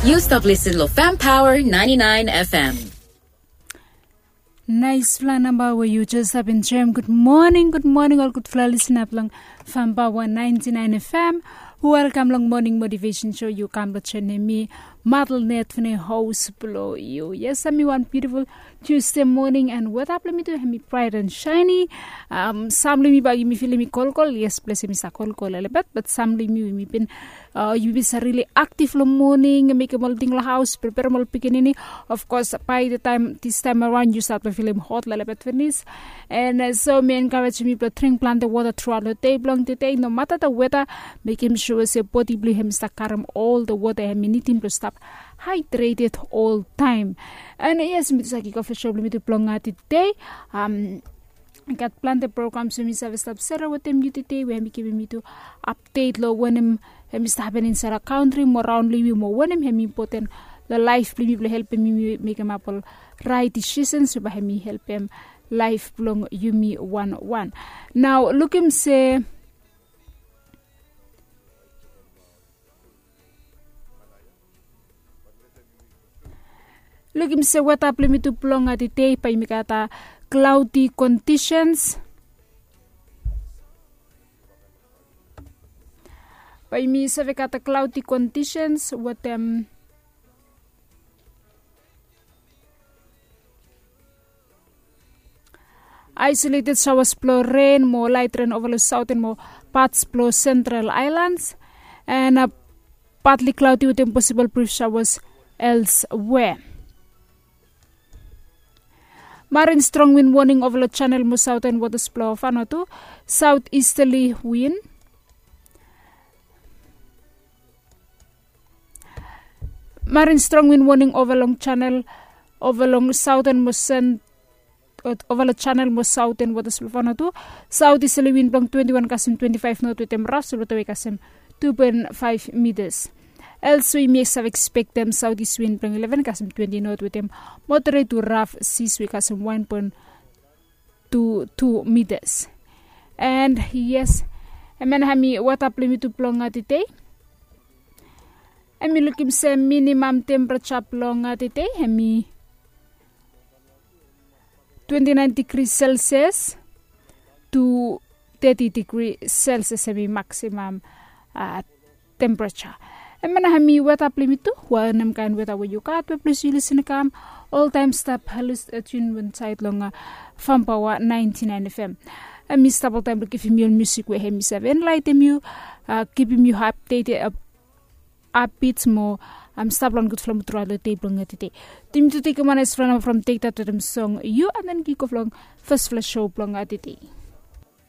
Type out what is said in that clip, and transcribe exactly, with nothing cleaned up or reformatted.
Yu stap listen lo Fam Power ninety nine F M. Naispela namba we yu jes stap enjoim. Gud moning, gud moning ol gudfala lisna blong Fam Power ninety nine F M. Welkam long moning motivation show. Yu kam blong joinim mi, Madelnet Fene, host blong yu. Yes, ami wan beautiful Tuesday morning and weta blong mi tu hemi bright and shiny. Um, sam long mi bai yumi filim i kolkol. Yes, ples hemi sa kolkol a little bit, but sam long mi, mi bin uh, yumi bin sa really active long moning, mekim ol ting long haus, preparim ol pikinini. Of course, by the time this time around yu start long filim hot lelebet finis. And uh, so mi encourage yumi blong dring planti wota throughout long day blong today. No matter the weather, mekim sure se bodi blong hem i stap karim ol the wota hem i nidim blong stap hydrated all time. And uh, yes, mi tu sa kikof long show blong mi tu blong uh, today. Um, gat planti programs we mi save stap sere wetem yu today we hem i givim yu tu update long wanem hem i stap hapen insaed long kantri mo raon long yu mo wanem hem i impoten long laef blong yumi blong helpem yumi mekemap ol rait disisens we bae hem i helpem laef blong yumi wan wan. Nao lukim se lukim se weta blong yumi tu blong tede bae yumi gat a cloudy conditions. Bae yumi save gat a cloudy conditions wetem isolated showers blong ren mo light ren ova long southern mo parts blong central islands. And uh, partly cloudy wetem possible brief showers elsewhere. Marine strong wind warning ova long channel mo southern waters blong Vanuatu. South easterly wind. Marine strong wind warning ova long channel, ova long southern mo sen ova long channel mo southern waters blong Vanuatu. South easterly wind blong twenty one kasem twenty five knot wetem raf solwata we kasem two point five meters. Elsewhere yumi save expectem southeast wind blong eleven kasem twenty knot wetem moderate to rough seas we kasem one point two two meters. And yes, hemia na hemi weta blong yumi tu blong tede. Hemi lukim se minimum temperature blong tede hemi twenty nine degree Celsius to thirty degree Celsius hemi maximum uh, temperature. Hemia na hemi weta blong yumi tu. Wanem kaen weta we yu gat we ples yu lisin i kam, oltaem stap listen, uh, tune insaed long uh, Fam Power ninety nine F M. Hemi stap oltaem blong givim yu ol musik we hemi save enlaitem yu, uh, kipim yu updated, uh, upbeat mo um, stap long gudfala mud throughout long day blong tede. Yumi tu tekem wan naesfala namba from Take That wetem song Yu, and then kikof long fasfala show blong tede.